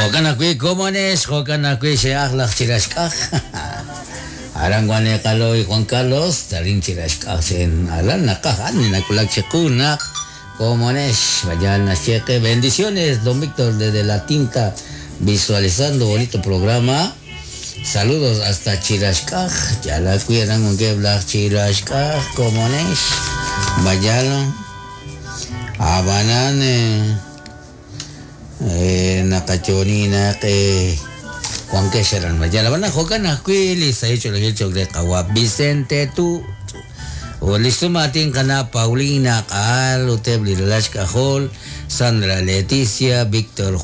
Jo'kan ajwi' komonex, jo'kan ajwi' xe'aj laj Chiraxk'aj. Aran wan li qalo'y Juan Carlos, arin Chiraxk'aj xe'en aran naqaj ani nawulak chiqu naq komonex. Vaya naxye qe bendiciones, don Víctor desde La Tinta, visualizando bonito programa. Saludos hasta Chiraxk'aj. Yal ajwi' aran wankeb' laj Chiraxk'aj komonex. Vaya Ab'anan naqayo'oni naq wankex aran Vaya. Ab'anan jo'kan ajwi' li sahil ch'oolejil cho'q re qawa' Vicente Tu ut li xsumaatin qana' Paulina Q'aal ut eb' li ralal xk'ajol Sandra Leticia, Víctor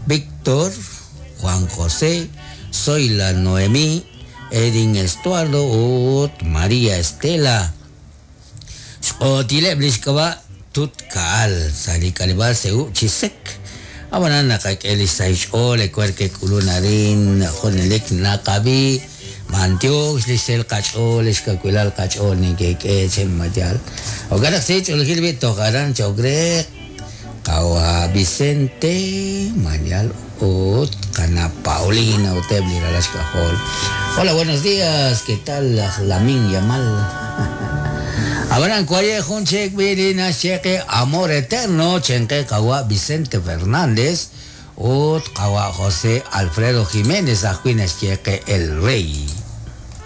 Víctor, Juan José, Zoila Noemí, Edin Estuardo ut María Estela. Xq'ootileb' li xk'ab'a' Tut Ka'al sa' li k'aleb'aal Seú chi sek. Ab'anan naqak'e li xsahil xch'ool ewer ke'k'ulun arin junelik naqab'i b'antiox li xsahil qach'ool li xkawilal qach'ool neke'k'e chi mayal. Jo'kan naq sahil ch'oolejil b'i' toj aran cho'q re qawa' Vicente Mayal ut qana' Paulina ut eb' li ralal xk'ajol. Hola, buenos días, ¿qué tal laj Lamin Yamal? Ab'anan waye' jun chik b'i' li naxye qe Amor Eterno chenqe qawa' Vicente Fernández ut qawa' José Alfredo Jiménez ajwi' naxye qe El Rey.